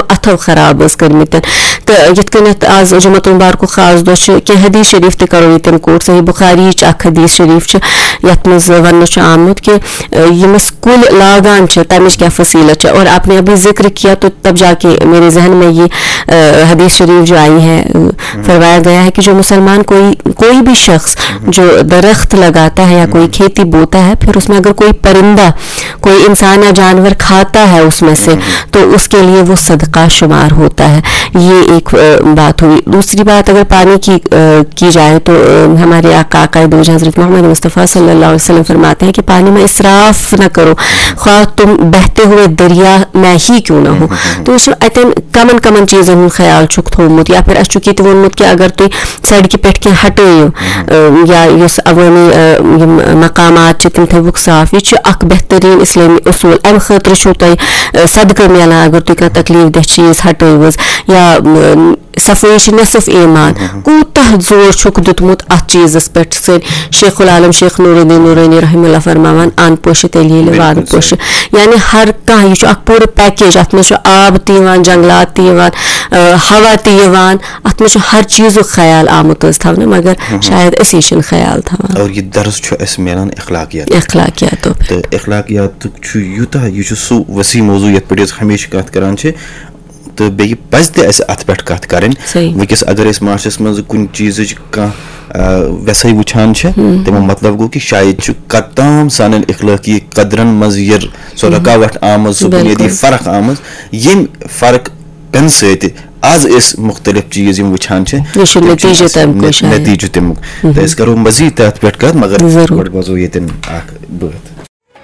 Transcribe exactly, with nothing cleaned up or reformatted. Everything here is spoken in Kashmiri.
اَتھو خراب ٲس کٔرمٕتۍ۔ تہٕ یِتھ کٔنٮ۪تھ آز جمعہ المبارکُک خاص دۄہ چھُ، کینٛہہ حدیث شریف تہِ کرو ییٚتٮ۪ن quote۔ صحیح بخاری یِچ اکھ حدیث شریف چھِ، یَتھ منٛز وننہٕ چھُ آمُت کہِ، اَ، یِم أسۍ کُلۍ لاگان چھِ، تَمِچ کیٛاہ فصیٖلت چھِ۔ اور آپ نے ابھی ذکر کیا، تو تب جا کے میرے ذہن میں یہ، اَ، حدیث شریف جو آئی ہے، اَ، فرمایا گیا ہے کہ جو مسلمان کوئی، کوئی بھی شخص جو درخت لگاتا ہے یا کوئی کھیتی بوتا ہے، پھر اس میں اگر کوئی پرندہ، کوئی انسان یا جانور کھاتا ہے اس میں سے، تو اس کے لیے وہ صدقہ شمار ہوتا ہے۔ یہ ایک، اَ، بات ہوئی۔ دوسری بات، اگر پانی کی، اَ، کی جائے تو، اَ، ہمارے آقا، آقائے دو جہاں حضرت محمد مصطفیٰ صلی اللہ علیہ وسلم فرماتے ہیں کہ پانی میں اسراف نہ کرو، خواہ تم بہتے ہوئے دریا میں ہی کیوں نہ ہو۔ تو وٕچھِو، اَتٮ۪ن کمن کمن چیٖزن ہُنٛد خیال چھُکھ تھوٚومُت، یا پھر اَسہِ چھُکھ یہِ تہِ ووٚنمُت کہِ اگر تُہۍ سڑکہِ پٮ۪ٹھ کینٛہہ ہٹٲیِو، اَ، یا یُس عوٲمی، اَ، یِم مقامات چھِ، تِم تھٲوِکھ صاف۔ یہِ چھُ اکھ بہتریٖن اسلٲمی اصوٗل۔ اَمہِ خٲطرٕ چھُو تۄہہِ، اَ، صدقہٕ میلان۔ اگر تُہۍ کانٛہہ تکلیٖف دہ چیٖز ہٹٲوِو حظ، یا، اَ، صفٲیی چھِ نصف ایمان۔ کوٗتاہ زور چھُکھ دیُتمُت اَتھ چیٖزَس پٮ۪ٹھ؟ سٲنۍ شیخ العالم شیخ نور الدین نورانی رحمہ اللہ فرماوان، "اَن پوشہِ تیٚلہِ ییٚلہِ وان پوشہِ۔" یعنی ہر کانٛہہ، یہِ چھُ اکھ پوٗرٕ package۔ اَتھ منٛز چھُ آب تہِ یِوان، جنگلات تہِ یِوان، آ، ہوا تہِ یِوان، اَتھ منٛز چھُ ہر چیٖزُک خیال آمُت حظ تھاونہٕ، مگر شاید أسی چھِنہٕ خیال تھاوان۔ اور یہِ درس چھُ اَسہِ میلان اخلاقیات۔ اخلاقیاتو پٮ۪ٹھ۔ تہٕ اخلاقیاتُک چھُ یوٗتاہ، یہِ چھُ سُہ وسیع موضوع یَتھ پٮ۪ٹھ أسۍ ہمیشہِ کَتھ کَران چھِ۔ تہٕ بیٚیہِ پَزِ تہِ اَسہِ اَتھ پٮ۪ٹھ کَتھ کَرٕنۍ۔ صحیح۔ وٕنکیٚس اگر أسۍ معاشرَس منٛز کُنہِ چیٖزٕچ کانٛہہ، آ، وٮ۪سَے وٕچھان چھِ، تَمیُک مطلب گوٚو کہِ شاید چھُ کَتام سانٮ۪ن اخلٲقی قدرَن منٛز یہِ سۄ رُکاوَٹھ آمٕژ، سۄ بُنیٲدی فرق آمٕژ، ییٚمہِ فرق پٮ۪نہٕ سۭتۍ آز أسۍ مُختٔلِف چیٖز یِم وٕچھان چھِ، یہِ چھُ تِم چھِ نتیٖجہٕ اَسہِ تَمیُک نت-، شاید۔ نتیٖجہٕ تَمیُک۔ تہٕ أسۍ کَرو مزیٖد تَتھ پٮ۪ٹھ کَتھ، مگر ضروٗر۔ گۄڈٕ بوزو ییٚتٮ۪ن اَکھ بٲتھ۔